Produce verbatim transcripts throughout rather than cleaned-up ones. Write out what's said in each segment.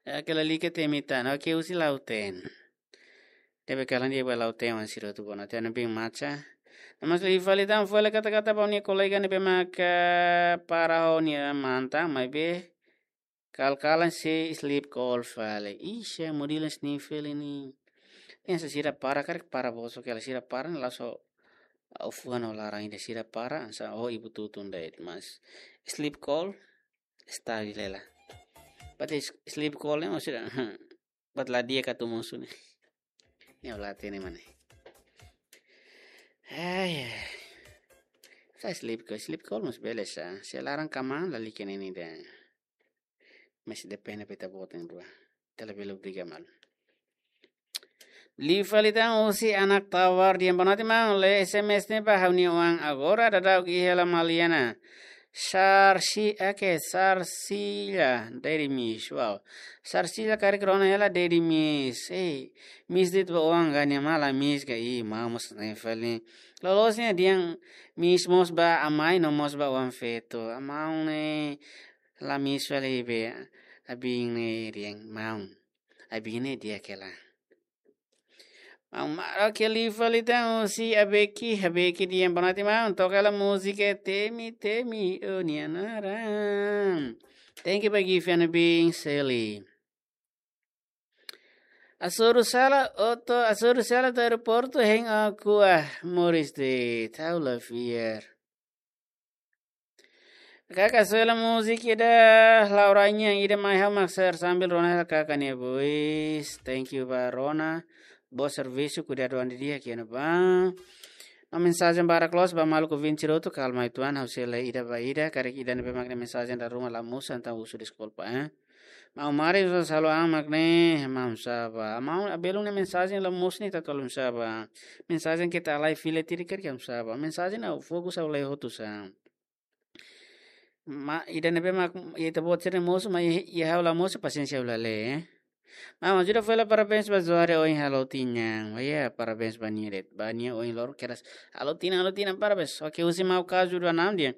Oke, lalika temi tan. Oke, husi Lautém. Ne'ebé kalan di'ak ba Lautém oan sira hotu, bonoite, ha'u-nia biin Macha. No mós liu fali tan, fó hela kata-kata ba ha'u-nia kolega ne'ebé maka para ho nia mantan, maibé kal-kalan sei sleep call fali. Ih, se model sini fali ne'e. Yang sasira para karik para boso kela sira para ne'e langsung, ah, fuan ho laran ida sira para, sa o ibu tutun dait mas. Sleep call, style lela. But is sleep call ne'e maksudnya, but la di'ak atu mosu ne'e. Ne'e o la hatene mak ne'e. Ai, ai. Sa sleep call, sleep call mós bele sa. Se laran kamaan lalika ne'e ida. Mas depende ba ita-boot na'in-rua. Ita labele obriga malu. Liu fali tan husi Anak Tawar dehan bonoite maun, lee S M S ne'e ba ha'u-nia oan agora daudauk iha hela Maliana. Sarsi, oke, Sarsila, Daddy Miss, wow. Sarsila karik rona hela Daddy Miss. Eh, miss de'it ba oan ka, nia mak la miss ka, ih, maun mós ne'e fali. Loloos ne'e dehan miss mós ba amai no mós ba oan feto. Maun ne'e la miss fali be, abin ne'e dehan maun. Abin ne'e di'ak hela. Maun, mara ke liu fali tan husi Abeki, Abeki dehan bonoite maun, toka hela múzika Temi Temi, o nia naran. Thank you ba gift, ha'u-nia biin Seli. Hasoru sala, oto, hasoru sala to'o aeroportu, hein, ah, kua, moris de'it, ha'u la fiar. Kaka, soe hela múzika ida Laura nian, ida mai ha'u mak share sambil rona hela kaka nia voice. Thank you ba rona. Boa servisu, kuidadu an didi'ak iha ne'ebá. No mensajen barak loos ba maluk ouvinte sira hotu, kalma uitoan, ha'u sei lee ida ba ida, karik ida ne'ebé mak nia mensajen dala ruma la mosu, entaun husu deskulpa, eh. Maun Mari, só salo an mak ne'e, maun saba. Maun, belun nia mensajen la mosu ne'e ita tolong saba. Mensajen keta alai fila tiri karik maun saba. Mensajen ha'u fokus ha'u lee hotu sa. Maibé ida ne'ebé mak ita-boot sira mosu, maibé iha ha'u la mosu, pasiénsia ha'u la lee, eh. Maun, ajuda fó hela parabéns ba Zohar ohin halo tinan. Oh ya, parabéns ba nia de'it. Ba nia ohin loron kedas halo tinan, halo tinan, parabéns. Oke, husi Mau Kazu dua enam dehan.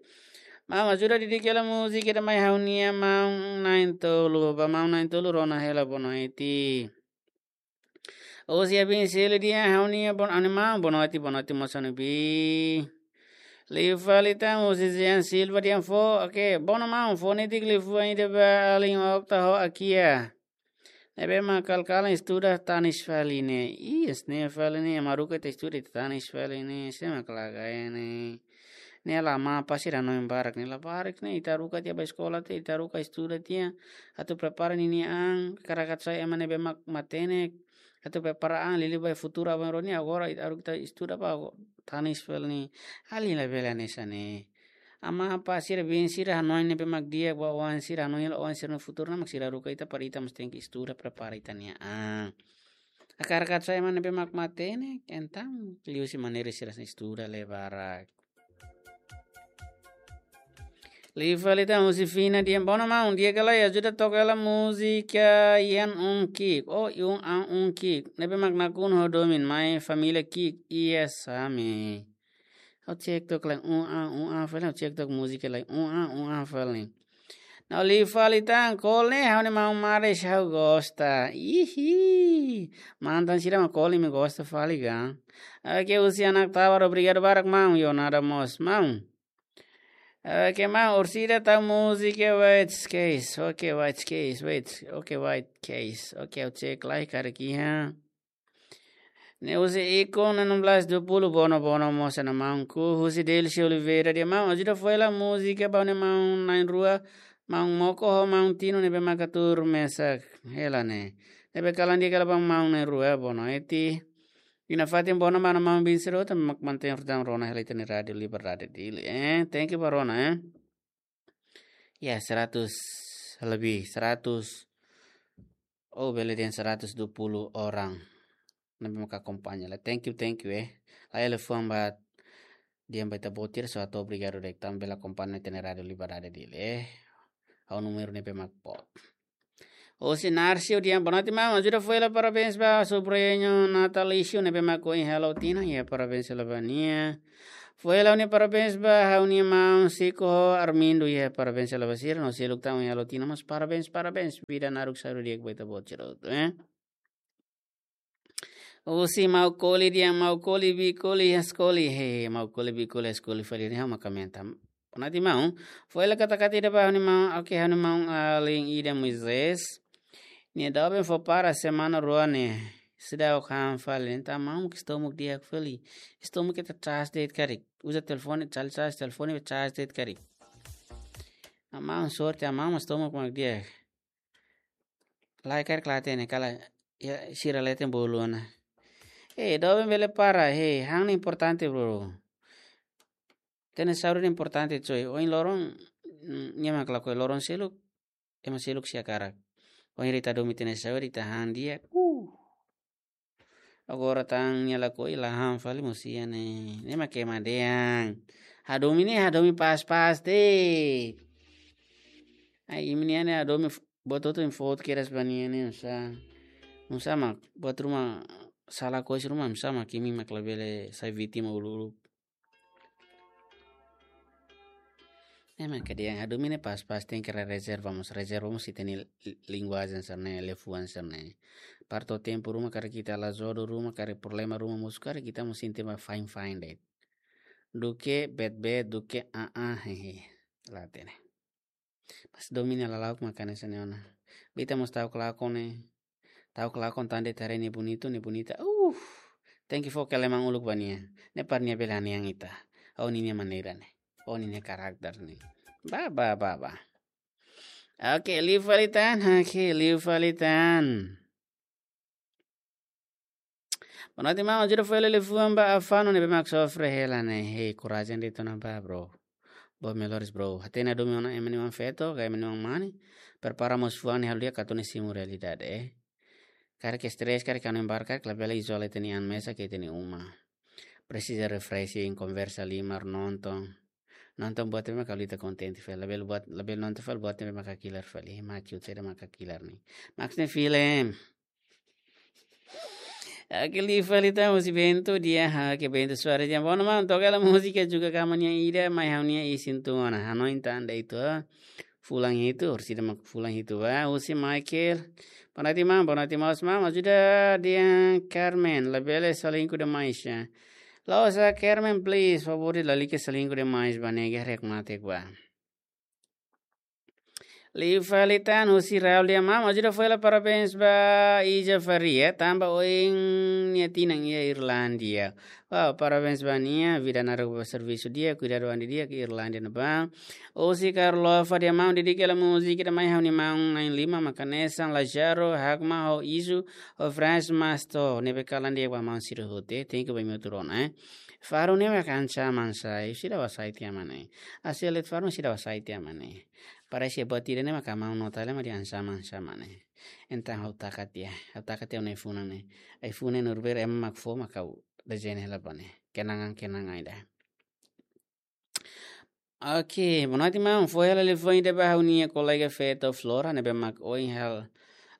Maun, ajuda didik hela múzika ida mai ha'u-nia maun na'in-tolu. Ba maun na'in-tolu rona hela bonoite. Husi abin Seli dehan ha'u-nia bon-, ha'u-nia maun bonoite, bonoite mós ha'u-nia biin. Liu fali tan husi Jean Silva dehan fó, oke, bono maun, fó netik liafuan ida ba alin Okta ho Akia. Ne'ebé mak kal-kalan estuda tanis fali ne'e. Ih, hanesan ne'e fali ne'e, ema haruka ita estuda ita tanis fali ne'e, sé mak laga ne'e. Ne'e la, ema pasti hanoin barak ne'e, la barak ne'e, ita haruka tiha ba eskola tiha, ita haruka estuda tiha. Atu prepara ninia an, hakarak atu sai ema ne'ebé mak matenek. Atu prepara an liuliu ba futuru aban-bainrua ne'e, agora ita haruka ita estuda ba tanis fali ne'e. Alin labele hanesan ne'e. Ema pasti sira, biin sira hanoin ne'ebé mak di'ak ba oan sira, hanoin hela oan sira-nia futuru ne'e mak sira haruka ita para ita mós tenke estuda, prepara ita-nia an. Hakarak atu sai ema ne'ebé mak matenek, entaun liuhusi maneira sira estuda lee barak. Liu fali tan husi Fina dehan bono maun, di'ak ka lae, ajuda toka hela múzika Ian Un Kick. Oh, Ian Un Kick. Ne'ebé mak nakonu ho domin mai família Kick. Iya sami. Ha'u cek tok lae, un a, un a, fali ha'u cek tok múzika lae, un a, un a, fali. No liu fali tan, kol ne'e ha'u-nia maun Maris ha'u gosta. Ihi. Mantan sira mak kol imi gosta fali ka. Oke, husi Anak Tawar, obrigadu barak maun, yo nada mós, maun. Oke, maun, orsida tau múzika White Case. Oke, White Case, wait. Oke, White Case. Oke, ha'u cek lai karik iha. Ne'e husi Iko, enam belas dua puluh, bono, bono mós ona maun ku, husi Delcio Oliveira dehan maun, ajuda fó hela múzika ba ha'u-nia maun na'in-rua, maun Moko ho maun Tino ne'ebé maka tuur mesak hela ne'e. Ne'ebé kalan di'ak hela ba maun na'in-rua, bonoite. Ida fatin bono ba ha'u-nia maun biin sira hotu ne'ebé mak mantein rotan rona hela ita-nia Rádiu Liberdade Dili, eh. Thank you ba rona, eh. Ya, seratus lebih, seratus. Oh, bele dehan seratus dua puluh orang ne'ebé maka akompaña lai. Thank you, thank you, eh. Lai liafuan ba dehan ba ita-boot sira, só atu obrigadu de'it tanba bele akompaña ita-nia Rádiu Liberdade Dili, eh. Ha'u númeru ne'ebé mak boot. Husi Narcio dehan bonoite maun, ajuda fó hela parabéns ba sobrinho natalício ne'ebé mak ohin halo tinan, ya, parabéns hela ba nia. Foin ha'u-nia parabéns ba ha'u-nia maun Siko ho Armindo, iha parabéns hela ba sira, no seluk tan ohin halo tinan mós parabéns, parabéns. Vida naruk saúde di'ak ba ita-boot sira hotu, eh. Husi Maukoli dehan, Maukoli, Bikoli, Haskoli, he, Maukoli, Bikoli, Haskoli, fali ne'e ha'u mak aumenta. Bonati maun, foin hela katak ida ba ha'u-nia maun, oke, ha'u-nia maun alin ida Moisés. Nia doben fó para semana rua ne'e. Seidauk han fali, entaun maun ke estómagu di'ak fali. Estómagu ita charge de'it karik. Uza telefone, charge, charge telefone, charge de'it karik. Maun sorte, maun estómagu mak di'ak. Lai karik la hatene, kala, ya, sira leten bolu ona. Eh, doben bele para, he, han ne'e importante, bro. Ita-nia saúde ne'e importante, coy. Ohin loron, mm, nia mak lakohi loron seluk, ema seluk sei hakarak. Ohin ita domin ita-nia saúde, ita han di'ak. Uh. Agora tan nia lakohi la han fali mós iha ne'e. Ne'e mak ema dehan. Hadomi ne'e, hadomi pas-pas de'it. Ai, imi-nia ne'e hadomi f-, buat hotu-hotu imi fó kedas ba nia ne'e, nusá. Nusá mak, buat ruma sala kois ruma, nusá mak imi mak labele sai vítima uluk-uluk. Ne'e mak ida dehan hadomi ne'e pas-pas, tenke rezerva mós, rezerva mós ita-nia li-, linguajen sira-ne'e, liafuan sira-ne'e. Para to'o tempu ruma karik ita la jodoh ruma, karik problema ruma mosu karik ita mós sente mak fine-fine de'it. Duké bad-bad, duké ah-ah, hehe. La hatene. Mas domin nia lala'ok mak hanesan ne'e ona. Ba ita mós ta'uk lakon ne'e. Ta'uk lakon tan de'it haree nia bonita, nia bonita. Uh, tenke fó keleman uluk ba nia. Ne'e para nia bele hanoin ita. Ho ninia maneira ne'e. Ho ninia karakter ne'e. Ba, ba, ba, ba. Oke, liu fali tan. Oke, liu fali tan. Bonati maun, ajuda foin hela liafuan ba Afano ne'ebé mak sofre hela ne'e. Hei, korajen de'it ona ba, bro. Boot melhores, bro. Hatene hadomi ona ema nia oan feto, ka ema nia oan mane. Prepara mós fuan ne'e halo di'ak atu nune'e simu realidade, eh. Karik stress, karik hanoin barak, karik labele izola ita-nia an mesak iha ita-nia uma. Presiza refreshing, konversa liman, nonton. Nonton buat ne'ebé mak halo ita kontente fali. Labele buat, labele nonton fali buat ne'ebé mak hakilar fali. Mak cute saida mak hakilar ne'e. Mak ne'e film. Oke, liu fali tan husi Bento dehan, ha, ke Bento Soares dehan. Bom, maun, toka hela múzika Juga Kama nia ida, mai ha'u-nia isin tun ona. Hanoin tan de'it, ah. Fulan hitu, orsida mak fulan hitu ba. Husi Michael. Bonati maun, bonati maun, maun, ajuda dehan Carmen, labele selingkuh demais, ya. La'ós, Carmen, please, favór de'it lalika selingkuh demais ba, ne'e ke rek mate ba. Liu fali tan husi Raul dehan, maun, ajuda foin hela parabéns ba Ija Faria, tanba ohin nia tinan iha Irlandia. Wow, parabéns ba nia, vida naruk ba servisu di'ak, kuidadu an di'ak iha Irlandia ne'ebá. Husi Carlova dehan, maun, dedika hela múzika ida mai ha'u-nia maun na'in-lima mak hanesan Lajaro, Hakma, ho Isu, ho Franz Masto, ne'ebé kalan di'ak ba maun sira hotu, eh. Thank you ba imi hotu rona, eh. Faro ne'e mak ancaman sai, seidauk hasai tiha mak ne'e. Aselet Faro seidauk hasai tiha mak ne'e. Parese buat ida ne'e mak maun nota hela mak dehan ancaman, ancaman ne'e. Entaun ha'u taka tiha, ha'u taka tiha ona ai-funan ne'e. Ai-funan ne'e nurbere ema mak fó mak ha'u dezeña hela ba ne'e. Kenangan, kenangan ida. Oke, bonati maun, foin hela liafuan ida ba ha'u-nia kolega feto Flora, ne'ebé mak ohin hela,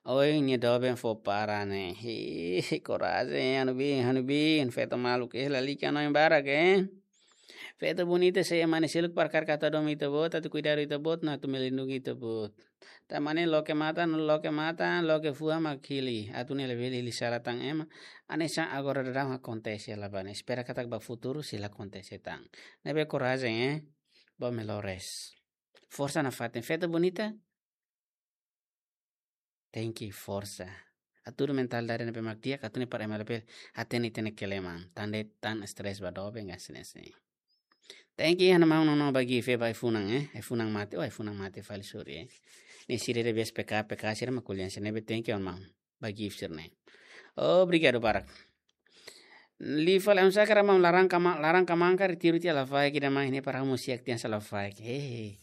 ohin nia doben fó para ne'e. Hi, korajen, ha'u-nia biin, ha'u-nia biin, feto maluk, eh, lalika hanoin barak, eh. Feto bonita, se ema ne'e seluk para karik atu hadomi ita-boot, atu kuidadu ita-boot, no atu melindungi ita-boot. Tanba ne'e loke matan, loke matan, loke fuan mak hili. Atu nune'e labele hili sala tan ema. Hanesan agora daudaun akontese hela ba ne'e. Espera katak ba futuru sei la akontese tan. Ne'ebé korajen, eh. Boot melhores. Forsa nafatin. Feto bonita. Tenke forsa. Hatudu mentalidade ne'ebé mak di'ak, atu nune'e para ema labele hatene ita-nia keleman. Tan de'it tan stress ba doben, hanesan ne'e. Thank you, ha'u-nia maun Nono ba gift ba ai-funan, eh. Ai-funan mate, oh, ai-funan mate fali, sorry, eh. Ne'e sira ida biasa P K, P K sira mak ko'alia hanesan ne'e, be thank you, maun. Ba gift sira-ne'e. Obrigadu barak. Liu fali, anu, sakara maun, laran kama-, laran kamanan karik tiru tiha lafaek ida mai ne'e para ha'u mós siak tiha hanesan lafaek. Hehe.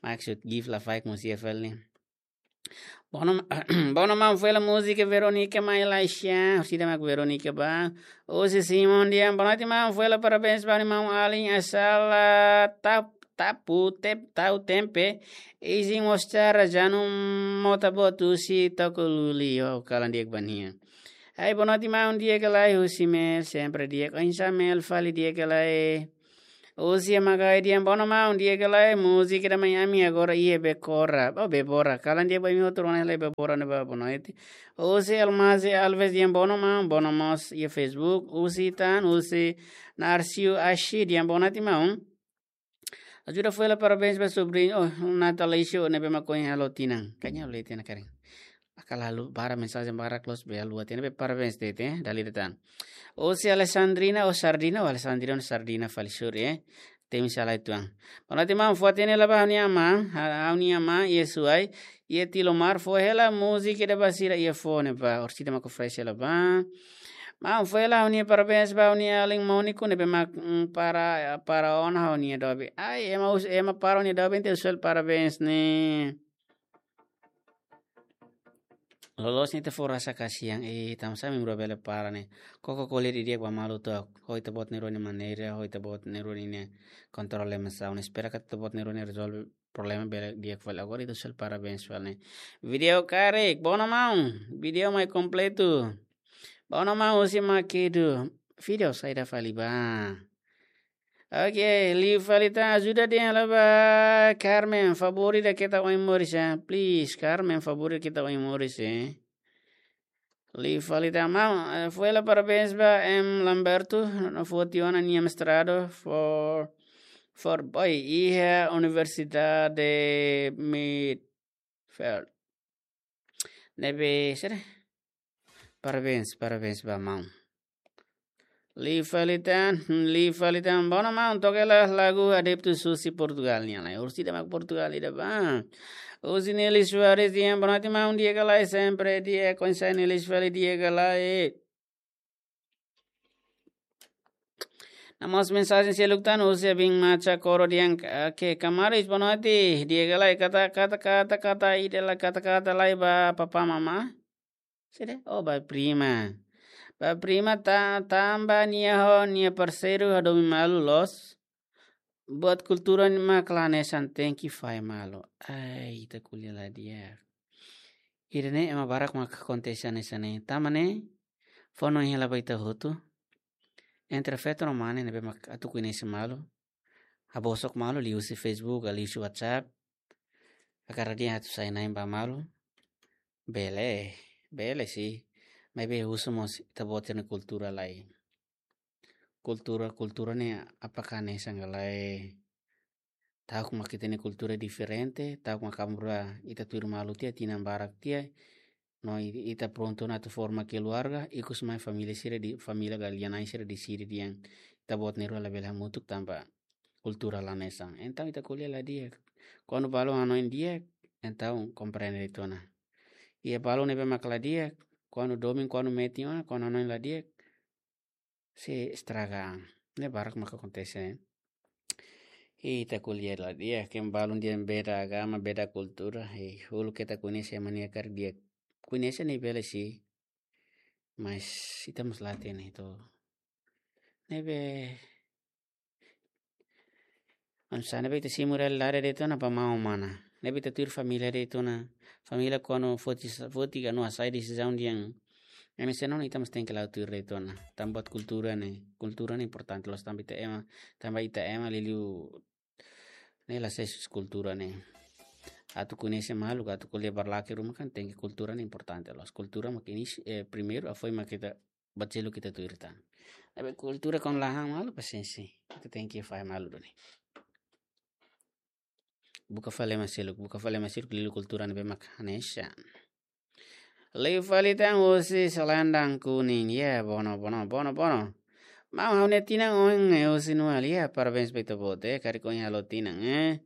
Maksud gift lafaek mós iha fali ne'e. Bom, bom, maun, foin hela múzika Veronica mai Laisha, orsida mak Veronica ba. Husi Simon dehan, bonati maun, foin hela parabéns ba ha'u-nia maun alin Asala Tap-, Tapu, Tep-, Tau Tempe. Izin mostrar janu mota boot husi Toko Luli, oh, kalan di'ak ba nia. Hai, bonati maun, di'ak ka lae? Husi Mel, sempre di'ak. Oinsá Mel fali, di'ak ka lae? Husi Magai dehan bono maun, di'ak ka lae, múzika ida mai ami agora iha Bekora. Oh, Bebora. Kalan di'ak ba imi hotu rona lai Bebora ne'ebá, boa noite. Husi Almazi Alves dehan bono maun, bono mós iha Facebook. Husi tan, husi Narcio Ashi dehan boa noite maun. Ajuda foin hela parabéns ba sobriñu. Oh, Natalício ne'ebé mak ohin halo tinan. Kanya le tinan karing. Akal haluha mensajen barak loos be haluha tinan be parabéns de'it, eh, dala ida tan. Husi Alessandrina, oh, Sardina, oh, Alessandrina, Sardina fali sure, eh. Temi sala ituan. Boa noite maun, fó hatene lai ba ha'u-nia amá, ha-, ha'u-nia amá, iha Suai, iha Tilomar, fó hela múzika ida ba sira iha fó ne'ebá, orsida mak fresh hela ba. Maun, fó hela ha'u-nia parabéns ba ha'u-nia alin Móniku ne'ebé mak, mm, para, para ona ha'u-nia doben. Ai, ema us-, ema para ha'u-nia doben entaun husu hela parabéns ne'e. Loloos ne'e ita fó rasa kasihan, eh, tanba sá membru bele para ne'e. Koko ko'alia didi'ak ba malu to'ok. Ho ita-boot na'in-rua nia maneira, ho ita-boot na'in-rua nia kontrolu emosaun. Espera katak ita-boot na'in-rua ne'e rezolve problema bele di'ak fali. Agora ita husu hela parabéns fali ne'e. Vídeo karik, bono maun. Vídeo mai kompletu. Bono maun husi Makedo. Vídeo saida fali ba. Oke, liu fali tan, ajuda dehan lai ba Carmen, favór ida ketak oin moris, eh. Please, Carmen, favór ida ketak oin moris, eh. Liu fali tan maun, eh, fó hela parabéns ba M Lamberto, no foti ona nia mestrado, for, for boy, iha Universidade Midfield. Ne'ebé, sira. Parabéns, parabéns ba maun. Liu fali tan, hmm, liu fali tan. Bono maun, toka hela lagu Adeptus husi Portugal nian lai. Orsida mak Portugal ida ba. Husi Nelly Soares dehan boa noite maun, di'ak ka lae, sempre di'ak, oinsá Nelly fali, di'ak ka lae. No mós mensajen seluk tan husi Abin Macha Koro dehan, eh, ke Kamaris, boa noite, di'ak ka lae, kata, kata, kata, kata, ida lai, kata, kata lai ba papá mamá. Sede, oh, ba prima. Ba prima ta-, tanba nia ho, nia parseiru hadomi malu loos. Buat kultura ne'e mak la hanesan, tenke fahe malu. Ai, ita ko'alia la di'ak. Ida-ne'e ema barak mak akontese hanesan ne'e. Tanba ne'e, fó hanoin hela ba ita hotu. Entre feto no mane ne'ebé mak atu koñese malu. Habosok malu liuhusi Facebook, liuhusi WhatsApp. Hakarak dehan atu sai-na'in ba malu. Bele, bele sih. Maibé husu mós ita-boot nia kultura lai. Kultura, kultura ne'e apakah hanesan ka lae? Ta'uk mak ita-nia kultura diferente, ta'uk mak amrua ita tuir malu tiha, tinan barak tiha. No i-, ita prontu ona atu forma keluarga, ikus mai família sira di-, família ka lia-na'in sira deside dehan ita-boot na'in-rua labele hamutuk tanba kultura la hanesan. Entaun ita ko'alia la di'ak. Kuandu balu hanoin di'ak, entaun komprende de'it ona. Iha balu ne'ebé mak la di'ak, kuandu domin, kuandu metin ona, kuandu hanoin la di'ak, sei estraga. Ne'e barak mak akontese. Ita ko'alia la di'ak, ke balun dehan beda agama, beda kultura. Hei, uluk ita koñese ema nia karik di'ak. Koñese ne'e bele sih. Mas ita mós la hatene to'o. Ne'ebé anu sá ne'ebé ita simu realidade de'it ona ba maun mana. Ne'ebé ita tuir família de'it ona. Família kuandu foti sa-, foti ka no hasai desizaun dehan ema sei hanoin, ita mós tenke la'o tuir de'it ona. Tanba buat kultura ne'e. Kultura ne'e importante loos tanba ita ema, tanba ita ema liuliu ne'e la ses kultura ne'e. Atu koñese malu, atu ko'alia ba laki ruma kan tenke kultura ne'e importante loos. Kultura mak inis-, eh, primeiru, hafoin mak ita buat seluk ita tuir tan. Tapi kultura kuandu la han malu, pasiénsia. Ita tenke fahe malu duni. Buka fali ema seluk, buka fali ema seluk liuliu kultura ne'ebé mak hanesan. Liu fali tan husi Selendang Kuning, ya, bono, bono, bono, bono. Maun, ha'u-nia tinan ohin, eh, husi Nual, ya, parabéns ba ita-boot, eh, karik ohin halo tinan, eh.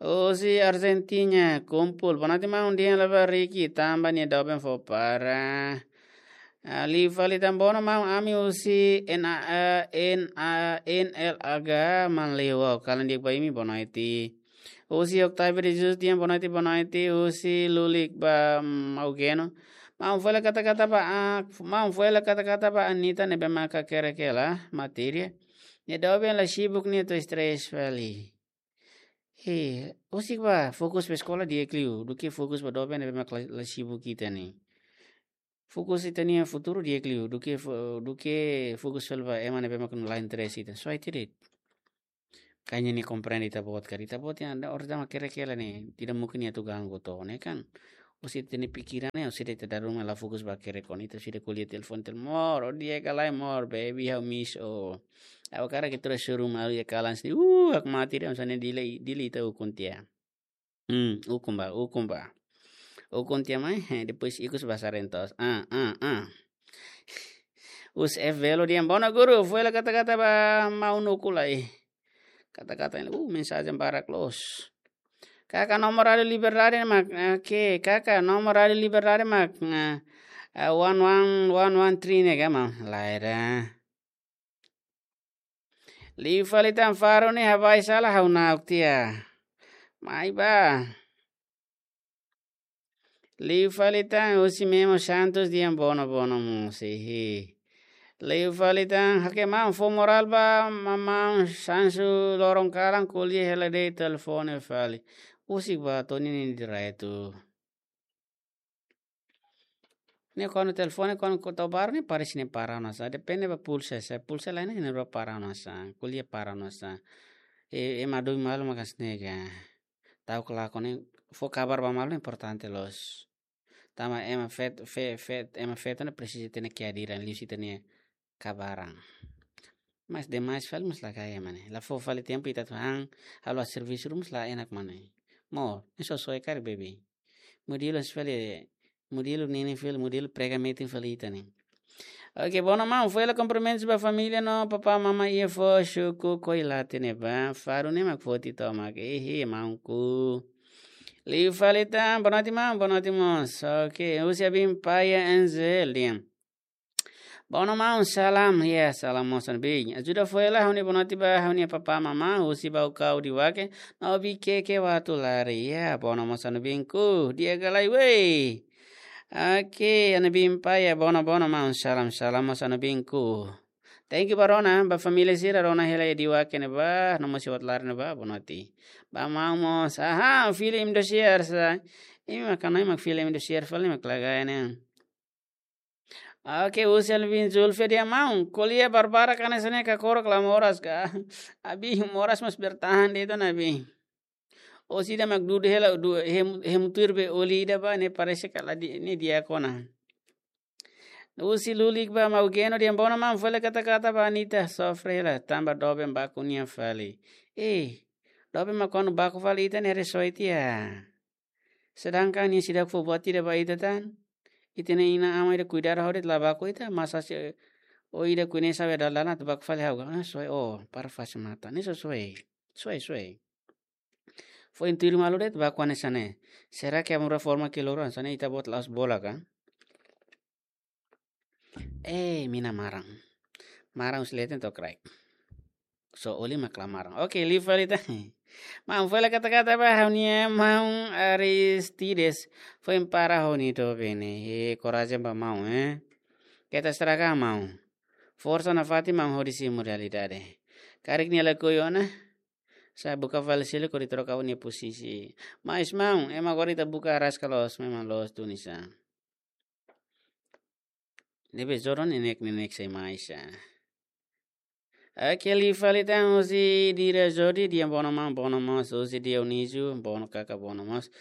Husi Argentina, kumpul, boa noite maun, dehan lai ba Ricky, tanba nia doben fó para. Ah, liu fali tan bono maun, ami husi N A, eh, N A, N L H Manleu, kalan di'ak ba imi, boa noite. Husi Octavio de Jesus dehan boa noite, boa noite. Husi Lulik ba, mm, Augeno. Maun, fó hela kata-kata ba, ah, maun, fó hela kata-kata ba Anita ne'ebé mak hakerek hela matéria. Nia doben la sibuk, nia to'o stress fali. He, husik bá, fokus ba eskola di'ak liu, duké fokus ba doben ne'ebé mak la, la sibuk ita ne'e. Fokus ita-nia futuru di'ak liu, duké fo-, duké fokus fali ba ema ne'ebé mak la interese ita. So I did it. Kayaknya nia komprende ita-boot karik, ita-boot ne'e, orsida mak hakerek hela ne'e, tidak mungkin nia atu ganggu to'o, ne'e kan. Husi ita-nia pikiran ne'e, husi ita dala ruma la fokus ba hakerek, kuandu ita husi ita ko'alia telefone, telefone, "Amor, ó di'ak ka lae, amor, baby, ha'u miss ó." Ha'u hakarak atu suru malu iha kalan sini, uh, hakmatek de'it, hanesan ne'e Dili, Dili ita ukun tiha. Hmm, ukun bá, ukun bá. Ukun tiha mai, eh, depois ikus bá sarentos. Ah, ah, ah. Us F Velo dehan, "Bono guru, fó hela kata-kata ba maun Nuku lai." Kata-kata ne'e, uh, mensajen barak loos. "Kaka, nomor Rádiu Liberdade mak, eh, ke, kaka, nomor Rádiu Liberdade mak, eh, eh, one one, one one three ne'e ka, maun?" Lae ida. Liu fali tan, Faro ne'e habai sala ha'u na'ok tiha. Mai bá. Liu fali tan, husi Memo Santos dehan, "Bono, bono mós, hihi." Liu fali tan, "Hake maun, fó morál ba ma-, maun Sansu loron kalan ko'alia hela de'it telefone fali." Husik bá, to'o ninia direitu. Ne'e kuandu telefone, kuandu ko tau baru ne'e parese ne'e para ona sa. Depende ba pulsa sa. Pulsa lain ne'e ne'e para ona sa. Ko'alia para ona sa. E, ema domin malu maka hanesan ne'e ka. Ta'uk lakon ne'e, fó kabar ba malu ne'e importante loos. Tanba ema feto, fe-, fe-, ema feto ne'e presiza ita-nia kehadiran, liuhusi ita-nia kabaran. Mas demais fali mós la kaer, maun. La fó fali tempu ita atu han, halo servisu ruma mós la enak, maun. Amor, ne'e soe-soe karik, baby. Modelu hanesan fali, modelu nini fali, modelu prega metin fali ita ne'e. Oke, bono maun, fó hela kumprimentus ba família no papá, mamá iha foho, suku Koilate ne'ebá, Faro ne'e mak foti tomak, hihi, maunku. Liu fali tan, boa noite maun, boa noite mós. Oke, husi Abin Paia Angel dehan, "Bono maun, salam, ya, salam mós Abin. Ajuda fó hela ha'u-nia boa noite ba ha'u-nia papá, mamá, husi Baucau Diuaque, no Viqueque Uatulari." Ya, bono mós Abinku, di'ak ka lae, wei. Oke, Abin Paia, bono, bono maun, salam, salam mós Abinku. Thank you ba rona, ba família sira, rona hela iha Diuaque ne'ebá, no mós iha Uatulari ne'ebá, boa noite. Ba maun mós, aha, fila Indosiar sa. Imi mak, imi mak fila Indosiar fali mak la kaer ne'e. Oke, husi Elvin Zulfia dehan, "Maun, ko'alia barbarak hanesan ne'e, kakorok la moras ka?" Abin, moras mas bertahan de'it ona, Abin. Ó sida mak dudu hela, du-, hem-, hemu tuir be oli ida bá, ne'e parese kala di, ne'e di'ak ona. Husi Lulik bá, Mau Geno dehan, "Bono maun, fó hela kata-kata ba Anita, sofre hela, tanba doben baku nia fali." Eh, doben mak kuandu baku fali ita ne'e haree soe tiha. Sedangkan nia seidauk fó buat ida ba ita tan. Ita-nia inan-aman ida kuidadu hodi la baku ita, masa se ó ida kuinesa be dala-dala atu baku fali ha'u ka? Ah, soe ó, para fase matan. Ne'e soe-soe. Soe-soe. Foin tuir malu de'it baku hanesan ne'e. Será que amor forma que loro hanesan ne'e ita-boot la'ós bola ka? Eh, mina maran. Maran husi leten to'o kraik. Só oli mak la maran. Oke, liu fali tan. Maun, fó hela kata-kata ba ha'u-nia maun Aristides. Foin para ho nia doben ne'e. Eh, korajen ba maun, eh. Keta estraga maun. Forsa nafatin maun hodi simu realidade. Karik nia lakohi ona, sá buka fali seluk hodi troka nia posisi. Mas maun, ema agora ita buka araska loos, memang loos duni sa. Ne'ebé jodoh ne'e nek, ne'e nek sei mai sa. Oke, liu fali tan husi Dira Jodi, dehan bono maun, bono mós, husi Dionísio, bono kaka, bono mós.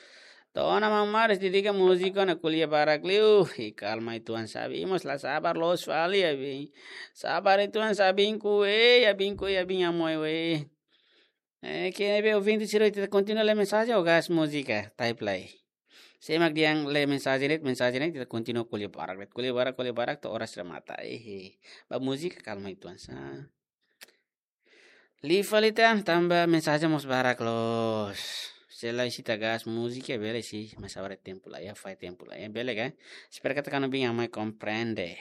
To'o ona maun Maris, dedika múzika ona ko'alia barak liu. I kalma uitoan sa Abin, i mós la sabar loos fali Abin. Sabar uitoan sa Abinku, eh, Abinku, eh, Abin Amoy, weh. Eh, ke be ouvinte sira, ita kontinua lee mensajen ou gás múzika, type lai. Sé mak dehan lee mensajen de'it, mensajen de'it, ita kontinua ko'alia barak de'it. Ko'alia barak, ko'alia barak, to'o oras remata. Eh, eh. Ba múzika kalma uitoan sa. Liu fali tan, tanba mensajen mós barak loos. Se la isi ita gás múzika, bele isi, mas agora tempu la iha, fahe tempu la iha, bele ka? Espera katak Abin Amoy komprende.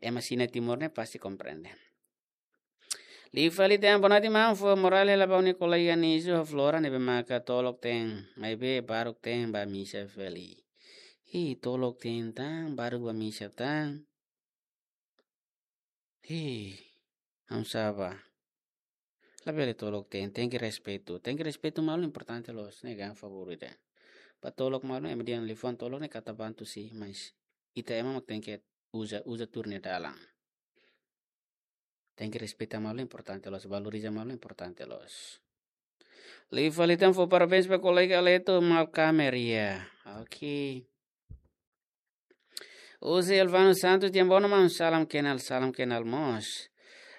Ema sira iha Timor ne'e pasti komprende. Liu fali tan, boa noite maun, fó morál hela ba ha'u-nia kolega Niso ho Flora ne'ebé maka tolok-teen, maibé baruk-teen bá misa fali. Ih, tolok-teen tan, baruk bá misa tan. Ih, hamsa bá. Labele tolok-teen, tenke respeitu. Tenke respeitu malu importante loos, ne'e ka, favór ida. Bá tolok malu, ema dehan liafuan tolok ne'e katak bantu si, mas ita ema mak tenke uza, uza tuir nia dalan. Tenke respeita malu importante loos, valoriza malu importante loos. Liu fali tan fó parabéns ba kolega Leto Malkamer, ya. Oke. Husi Elvano Santos, di'ak, boa noite, maun. Salam kenal, salam kenal mós.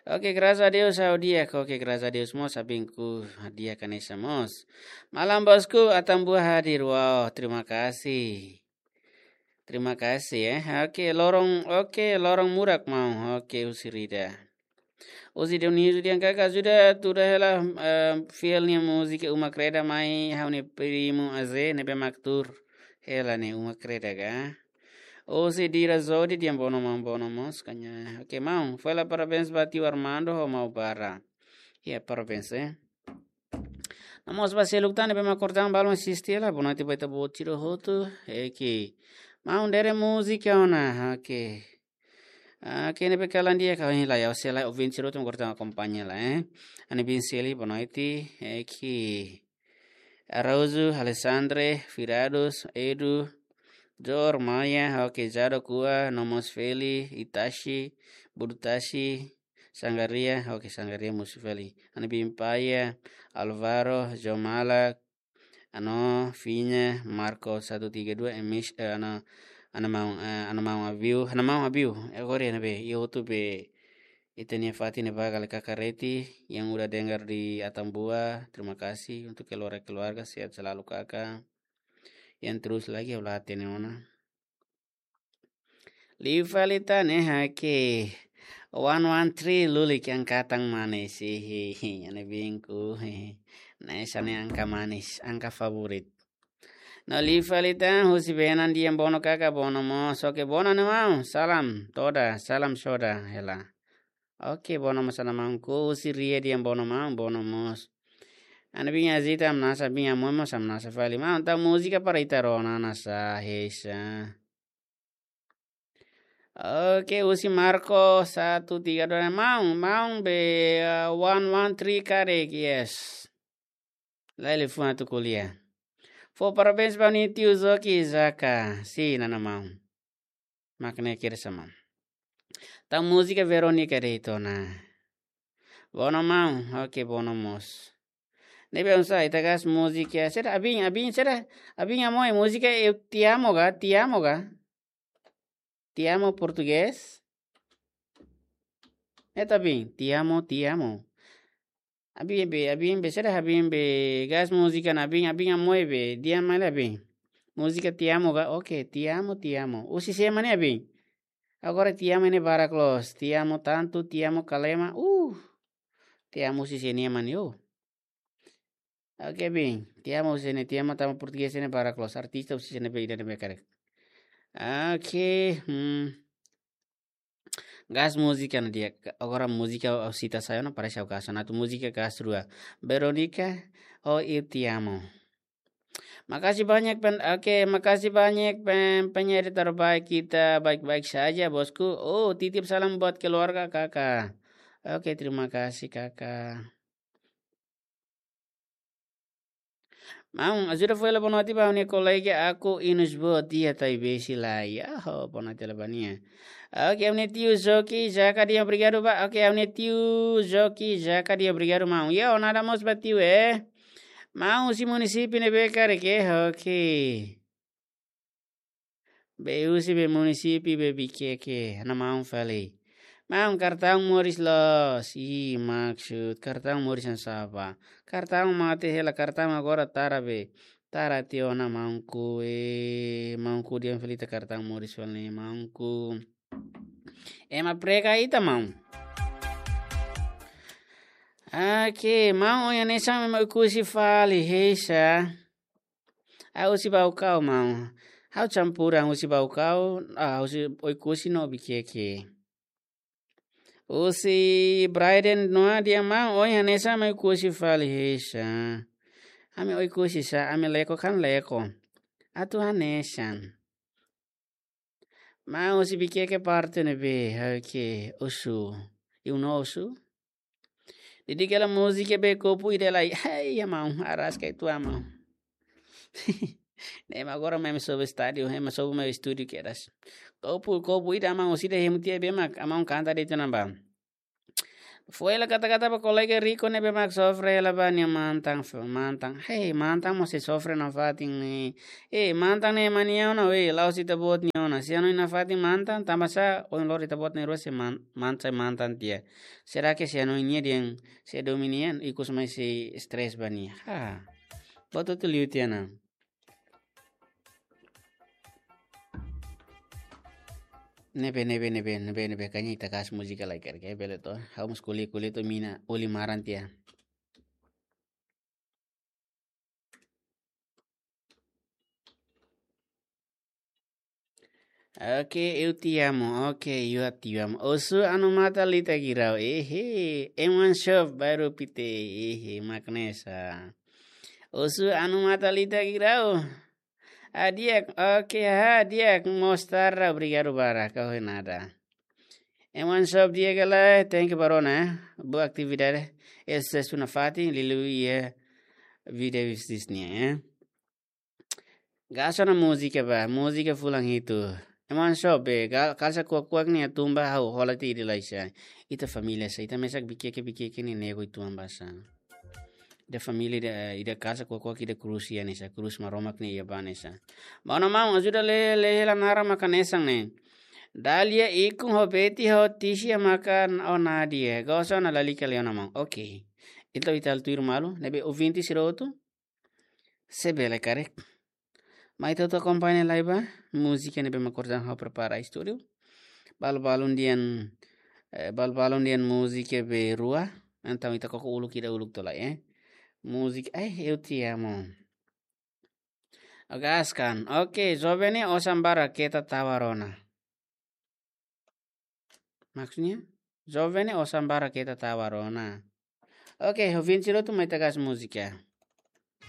Oke, graças a Deus, ha'u di'ak. Oke, graças a Deus mós, ha'u bem, ha'u di'ak hanesan mós. Malam bosku, Atambua hadir. Wow, terima kasih. Terima kasih, eh. Oke, loron, oke, loron murak maun. Oke, husi Rida. Husi Dionísio, di'ak, kaka ajuda tuur hela, eh, fiel nia múzika Uma Kreda mai ha'u-nia primu Aze ne'ebé mak tuur hela ne'e Uma Kreda ka. Husi Dira Zodi, di'ak, boa noite maun, boa noite mós, kanya. Oke, maun, fó hela parabéns ba tiu Armando ho maun Bara. Ya, parabéns, eh. No mós ba seluk tan ne'ebé mak kordang balun asiste hela, boa noite ba ita-boot sira hotu. Oke. Maun, dere múzika ona, oke. Ah, kene be kalan dia kau ini la ya, sei la ouvinte sira hotu mak kordang akompaña la, eh. Ani bin Seli, boa noite, eh, ki Araújo, Alessandre, Firados, Edu, Jor, Maya, oke, Jado, Kua, no mós Feli, Itashi, Budutashi, Sangaria, oke, Sangaria mós Feli. Ani bin Paya, Alvaro, Jomala, Ano, Fiña, Marco satu tiga dua, Emis, eh, ano, ano mau, eh, ano mau aviu, ano mau aviu. Eh, agora ya, be, ita hotu be, ita-nia fatin ne'ebá kala kaka Reti, yang udah dengar di Atambua, terima kasih untuk keluarga-keluarga, sehat selalu kaka. Yang terus lagi, ha'u la hatene ona. Liu fali tan ne'e, oke. One one three, lulik angka tan manis. Hihi, ane bingku. Hihi. Ne'e hanesan angka manis, angka favorit. No liu fali tan, husi Benan, di'ak, boa noite kaka, boa noite mós. Oke, boa noite, ane maun. Salam toda, salam soda, hela. Oke, boa noite mós, ane maun, husi Ria, di'ak, boa noite maun, boa noite mós. Ane bin Azita, hamnasa, bin Amoy mós hamnasa fali. Maun, tau múzika para ita rona, nasa, heisa. Oke, husi Marco satu tiga dua, maun, maun be, uh, one one three karik, yes. Lai liafuan atu ko'alia. Fó parabéns ba nia tiu Zoki Zaka. Sin, ane maun. Mak ne'e kira sama. Tau múzika Veronica de'it ona. Boa noite maun. Oke, boa noite mós. Ne'ebé oinsá, ita gás múzika. Saida, abin, abin, saida, abin Amoy, múzika Eu Te Amo ka, Te Amo ka? Te amo portugés? Ne'e ta bin, te amo, te amo. Abin be, abin be, saida, abin be, gás múzika ona, abin, abin Amoy be, di'ak, mai la abin. Múzika Te Amo ka, oke, te amo, te amo. Husi sé mak ne'e abin? Agora te amo ne'e barak loos. Te amo tanto, te amo Kalema. Uh. Te amo husi sé nia mani, uh. Oke, bin. Te amo husi ne'e, te amo tanba portugés ne'e barak loos. Artista husi ne'ebé, ida ne'ebé karik. Oke, hmm. Gás múzika ona di'ak. Agora múzika ha'u sita sai ona, parese ha'u gás ona. Atu múzika gás rua. Veronica, oh, Eu Te Amo. Makasih banyak, pen-, oke, makasih banyak, pen-, penyanyi terbaik kita, baik-baik saja, bosku. Oh, titip salam buat keluarga, kaka. Oke, terima kasih, kaka. Maun, ajuda fó hela boa noite ba ha'u-nia kolega Aku Inus Boot, di'ak, Taibesi lai. Aho, boa noite hela ba nia. Oke, ha'u-nia tiu Zoki Zaka, di'ak, obrigadu ba. Oke, ha'u-nia tiu Zoki Zaka, di'ak, obrigadu, maun. Yo, nada mós ba tiu, eh. Maun, husi munisípiu ne'ebé karik, eh, oke. Be husi be munisípiu be Viqueque, ane maun fali. Maun, kartaun moris loos. Ih, maksud, kartaun moris hanesan sá? Kartaun mate hela, kartaun agora tara be. Tara tiha ona maunku, eh, maunku, di'ak, fali ita kartaun moris fali, maunku. Ema prega ita, maun. Oke, maun, ohin hanesan ema Oekusi fali, heisa. Ha'u husi Baucau, maun. Ha'u campur, ha'u husi Baucau, ah, husi Oekusi no Viqueque. Husi Braiden no dia, maun, ohin hanesan ema Oekusi fali, heisa. Ami Oekusi sá, ami Leko kan Leko. Atu hanesan. Maun, husi Viqueque parte ne'ebé, oke, Osu. Iha Osu? Didik hela múzika be kopu ida lai. Hei, ya maun, araska itu, maun. Ne'e mak agora mak ema sobu estádiu, ema sobu mak estúdiu kedas. Kopu, kopu ida, maun, husi ida hemu tiha be mak, maun, kanta de'it ona ba. Foin hela kata-kata ba kolega riku ne'ebé mak sofre hela ba nia mantan, mantan. Hei, mantan mós sei sofre nafatin ne'e. Eh, mantan ne'e ema nia oan, eh, la'ós ita-boot nia oan. Se hanoin nafatin mantan, tanba sá, ohin loron ita-boot na'in-rua sei man-, man-, sei mantan tiha. Será que se hanoin nia dehan sei domin nia, ikus mai sei stress ba nia. Ha. Buat hotu liu tiha ona. Ne'ebé, ne'ebé, ne'ebé, ne'ebé, ne'ebé, kayaknya ita kasih múzika lai karik, bele to. Ha'u mós ko'alia, ko'alia to'o mina, uli maran tiha. Oke, eu te amo. Oke, eu te amo. Osu anu mata lita girau. Ehe, M one Shop baru pite. Ehe, mak hanesan. Osu anu mata lita girau. Ah, di'ak, oke, ha, di'ak, mostarda, obrigadu barak, ka ho nada. M one Shop di'ak ka lae, thank you ba rona, eh. Boa atividade, eh, susesu nafatin, liuliu iha vida business nian, eh. Gasta ona múzika ba, múzika fulan hitu. M one Shop, eh, gal-, kalsa kuak-kuak ne'e tumba ha'u hola tiha ida lai sá. Ita família sá, ita mesak bikieke-bikieke ne'e nego ituan ba sá. Ida família ida, ida kalsa kuak-kuak ida krús iha ne'e sá, krús Maromak nia iha ba ne'e sá. Ba ona maun, ajuda lee, lee hela naran mak hanesan ne'e. Dalia ikun ho Beti ho Tisia maka o Nadia. Gasta ona lalika lee ona maun. Oke. Entaun ita halo tuir malu, ne'ebé ouvinte sira hotu. Se bele karik. Mai ita hotu akompaña lai ba múzika ne'ebé mak orsida ha'u prepara iha estúdiu. Balu-balun dehan, eh, balu-balun dehan múzika be rua. Entaun ita koko uluk ida uluk to'o lai, eh. Múzika, eh, eu te amo. Oke, askan. Oke, joven ne'e osan barak keta tau ba rona. Maksudnya, joven ne'e osan barak keta tau ba rona. Oke, ouvinte sira hotu mai ita gasta múzika.